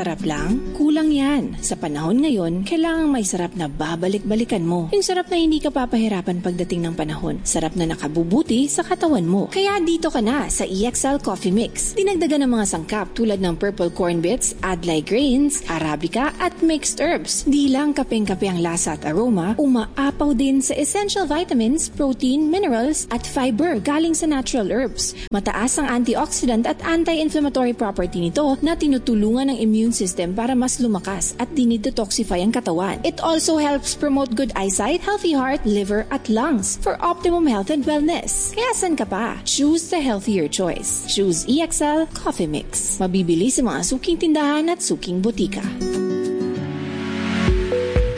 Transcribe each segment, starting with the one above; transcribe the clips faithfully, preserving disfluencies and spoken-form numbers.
Sarap lang? Kulang yan. Sa panahon ngayon, kailangang may sarap na babalik-balikan mo. Yung sarap na hindi ka papahirapan pagdating ng panahon. Sarap na nakabubuti sa katawan mo. Kaya dito ka na sa E X L Coffee Mix. Dinagdagan ng mga sangkap tulad ng purple corn bits, adlay grains, arabica at mixed herbs. Di lang kapeng-kape ang lasa at aroma, umaapaw din sa essential vitamins, protein, minerals at fiber galing sa natural herbs. Mataas ang antioxidant at anti-inflammatory property nito na tinutulungan ng immune system para mas lumakas at dinidetoxify ang katawan. It also helps promote good eyesight, healthy heart, liver at lungs for optimum health and wellness. Kaya san ka pa? Choose the healthier choice. Choose E X L Coffee Mix. Mabibili sa mga suking tindahan at suking botika.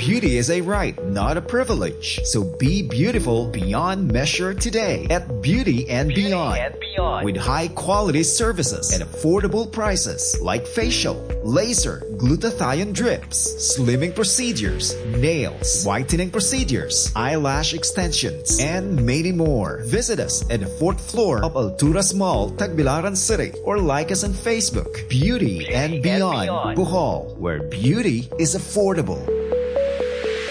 Beauty is a right, not a privilege. So be beautiful beyond measure today at Beauty and Beyond. And Beyond. With high quality services and affordable prices like facial, laser, glutathione drips, slimming procedures, nails, whitening procedures, eyelash extensions, and many more. Visit us at the fourth floor of Alturas Mall, Tagbilaran City, or like us on Facebook. Beauty and Beyond, Beyond. Bohol, where beauty is affordable.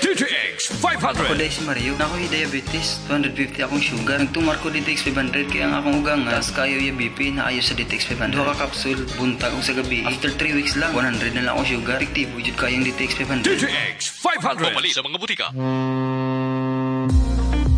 D T X five hundred. Ako diay si Mario. Naa koy diabetes, two hundred fifty akong sugar. Nagtumar ko D T X five hundred kay ang akong ugang taas kayo ya B P na ayo sa D T X five hundred. Duha ka kapsul buntag ug sa gabi. After three weeks lang, one hundred na lang akong sugar. Epektibo jud kayong D T X five hundred. D T X five hundred. Pamalit sa mga butika.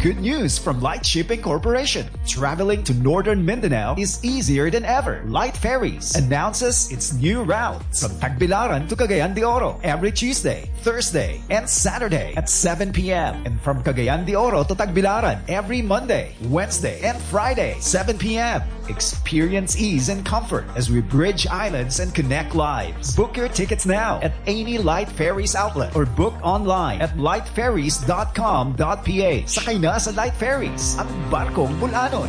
Good news from Light Shipping Corporation. Traveling to Northern Mindanao is easier than ever. Light Ferries announces its new routes from Tagbilaran to Cagayan de Oro every Tuesday, Thursday, and Saturday at seven p m. And from Cagayan de Oro to Tagbilaran every Monday, Wednesday, and Friday, seven p m. Experience ease and comfort as we bridge islands and connect lives. Book your tickets now at any Light Ferries outlet or book online at lightferries dot com dot P H. Sakay na sa Light Ferries, ang barkong bul-anon.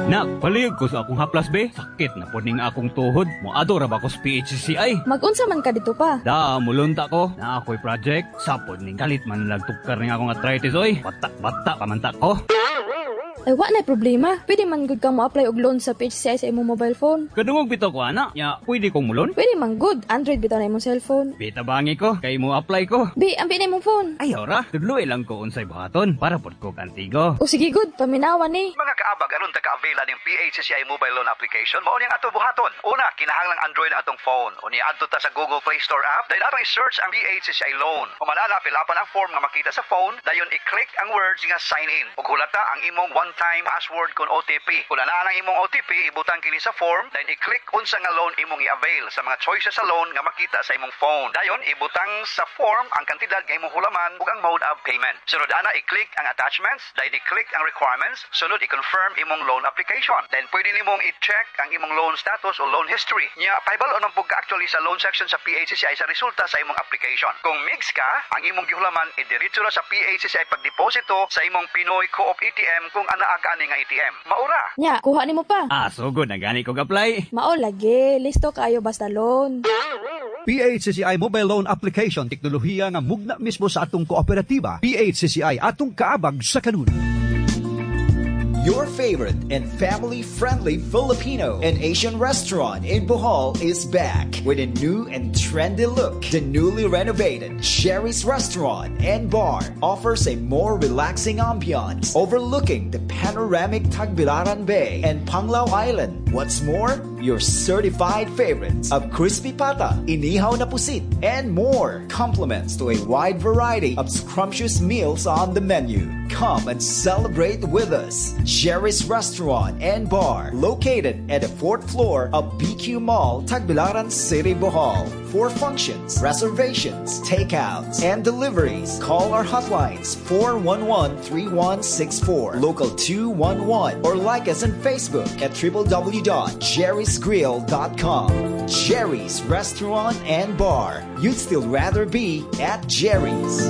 Nak, palihog ko sa akong haplas be. Sakit na po ning akong tuhod. Moadto ra ba ko sa P H C C I? Mag-unsa man ka dito pa? Da, mulunta ko. Naa ko'y project. Sapod ning kalit man lagtukar ning akong arthritis oy. Bata, bata, pamanta ko. Ay, wa na problema. Pwede man gud kang mo-apply og loan sa P H C C I sa imong mobile phone. Kadungog bitaw ko ana. Ya, pwede kong mulon? Pwede man gud. Android bitaw na imong cellphone. Bita bangi ko, kay mo apply ko. Bi, ambi na imong phone. Ay, ora, tudloy lang ko unsay buhaton para pod ko kantigo. O sige gud, paminawa ni. Mga kaabag, aron ta ka-avail ning P H C C I mobile loan application, mao ning ato buhaton. Una, kinahanglang Android ang atong phone. Unya adto ta sa Google Play Store app, dayon atong i-search ang P H C C I loan. Human ana, fill-upan ang form nga makita sa phone, dayon i-click ang words nga "sign in". Ug hulata ang imong one-time password kon O T P. Kung naa ang imong O T P, ibutang kini sa form, dayon i-click unsa nga loan imong i-avail sa mga choices sa loan nga makita sa imong phone. Dayon ibutang sa form ang kantidad nga imong hulaman ug ang mode of payment. Sunod ana, i-click ang attachments, dayon i-click ang requirements, sunod i-confirm imong loan application. Then pwede nimong i-check ang imong loan status o loan history. Nya pahibalo nang pud ka actually sa loan section sa P H C C I sa resulta sa imong application. Kung mix ka, ang imong gihulaman idiretso ra sa P H C C I pagdeposito sa imong Pinoy Co-op A T M kung anaa ka ani nga A T M. Mao ra. Nya, kuha nimo pa. Ah, sugod na gani ko apply. Mao lagi, listo kayo basta loan. P H C C I Mobile Loan Application, teknolohiya nga mugna mismo sa atong kooperatiba. P H C C I, atong kaabag sa kanunay. Your favorite and family-friendly Filipino and Asian restaurant in Bohol is back with a new and trendy look. The newly renovated Sherry's Restaurant and Bar offers a more relaxing ambiance overlooking the panoramic Tagbilaran Bay and Panglao Island. What's more, your certified favorites of crispy pata, inihaw na pusit, and more complements to a wide variety of scrumptious meals on the menu. Come and celebrate with us. Sherry's Restaurant and Bar, located at the fourth floor of B Q Mall, Tagbilaran City, Bohol. For functions, reservations, takeouts, and deliveries, call our hotlines four one one, three one six four, local two one one, or like us on Facebook at w w w dot jerrysgrill dot com. Jerry's Restaurant and Bar. You'd still rather be at Jerry's.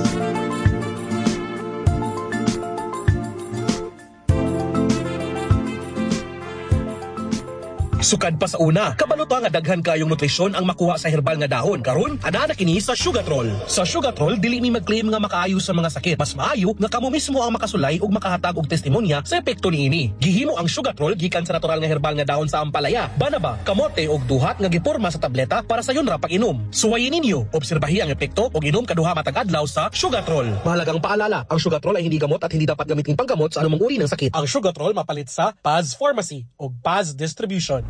Sukad pa sa una, kabalo ta nga daghan kayong nutrisyon ang makuha sa herbal nga dahon. Karon, ana na kini sa Sugatrol. Sa Sugatrol, dili mi mag-claim nga makaayo sa mga sakit. Mas maayo nga kamo mismo ang makasulay ug makahatag og testimonya sa epekto niini. Gihimo ang Sugatrol gikan sa natural nga herbal nga dahon sa ampalaya, banaba, kamote ug duhat nga giporma sa tableta para sayon ra pag-inom. Suwayin ninyo, obserbahi ang epekto ug inom kaduha matag adlaw sa Sugatrol. Mahalagang paalala, ang Sugatrol ay hindi gamot at hindi dapat gamitin panggamot sa anumang uri ng sakit. Ang Sugatrol mapalit sa Paz Pharmacy o Paz Distribution.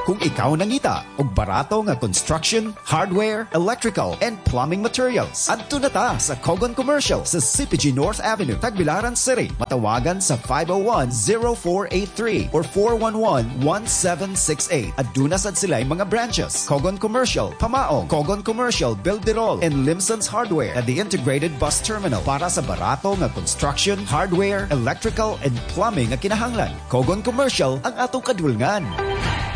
Kung ikaw nangita og barato nga construction, hardware, electrical, and plumbing materials, adto na ta sa Kogon Commercial sa C P G North Avenue, Tagbilaran City. Matawagan sa five oh one, zero four eight three or four one one, one seven six eight. Aduna sad sila mga branches. Kogon Commercial, Pamaong, Kogon Commercial, Bilderol, and Limson's Hardware at the Integrated Bus Terminal para sa barato nga construction, hardware, electrical, and plumbing nga kinahanglan. Kogon Commercial ang atong kadulngan.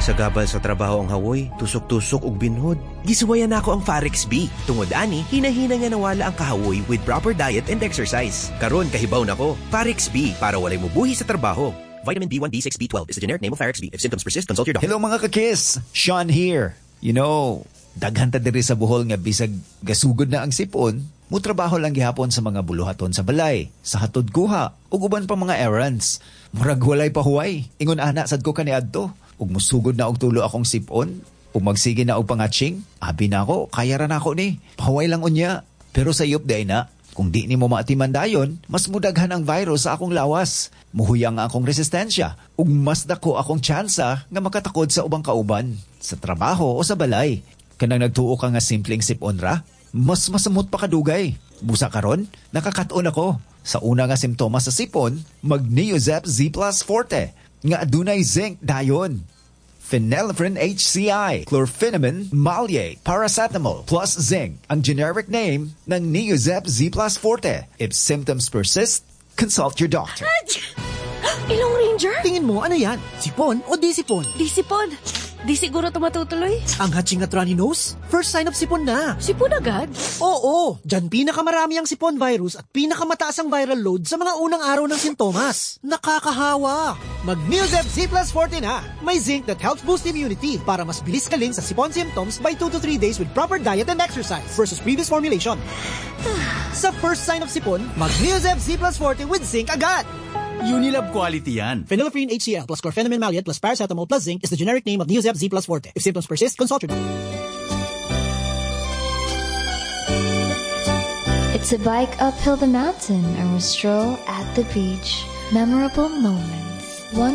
Sa gabal sa trabaho ang hawoy, tusok-tusok ug binhod. Gisuwayan nako ang Farex B. Tungod ani, hinahina nga nawala ang kahawoy with proper diet and exercise. Karon kahibaw nako, Farex B para walay mubuhi sa trabaho. Vitamin B one, B six, B twelve is the generic name of Farex B. If symptoms persist, consult your doctor. Hello, mga kakis! Sean here. You know, daghan ta diri sa Bohol nga bisag gasugod na ang sipon, mutrabaho lang gihapon sa mga buluhaton sa balay, sa hatod kuha, ug uban pa mga errands. Murag walay pahuway. Ingon ana sad ko kaniadto. Ug musugod na og tulo akong sipon, ug magsige na og pangatsing, abi nako, kaya ra nako ni. Pahuway lang unya. Pero sayop diay na, kung di nimo maatiman dayon, mas mudaghan ang virus sa akong lawas. Muhuyang ang akong resistensya ug mas dako akong tsansa nga makatakod sa ubang kauban, sa trabaho o sa balay. Kanang nagtuo ka nga simpleng sipon ra, mas masamot pa kadugay. Busa karon, nakakaton ako. Sa una nga simptomas sa sipon, mag Neozep Z Plus Forte nga adunay zinc dayon. Phenylephrine H C I, chlorpheniramine maleate, paracetamol plus zinc ang generic name ng Neozep Z Plus Forte. If symptoms persist, consult your doctor. Ilong Ranger? Tingin mo, ano yan? Sipon o di sipon? Di sipon. Di siguro ito matutuloy. Ang hatsing at runny nose? First sign of sipon na. Sipon agad? Oo. Diyan pinakamarami ang sipon virus at pinakamataas ang viral load sa mga unang araw ng sintomas. Nakakahawa. Mag Neozep Z Plus forty na. May zinc that helps boost immunity para mas bilis galing sa sipon symptoms by two to three days with proper diet and exercise versus previous formulation. Sa first sign of sipon, mag Neozep Z Plus forty with zinc agad. Unilab quality yan. Phenylephrine H C L plus chlorpheniramine maleate plus paracetamol plus zinc is the generic name of Neozep Z Plus Forte. If symptoms persist, consult your doctor. It's a bike uphill the mountain or a stroll at the beach. Memorable moments. One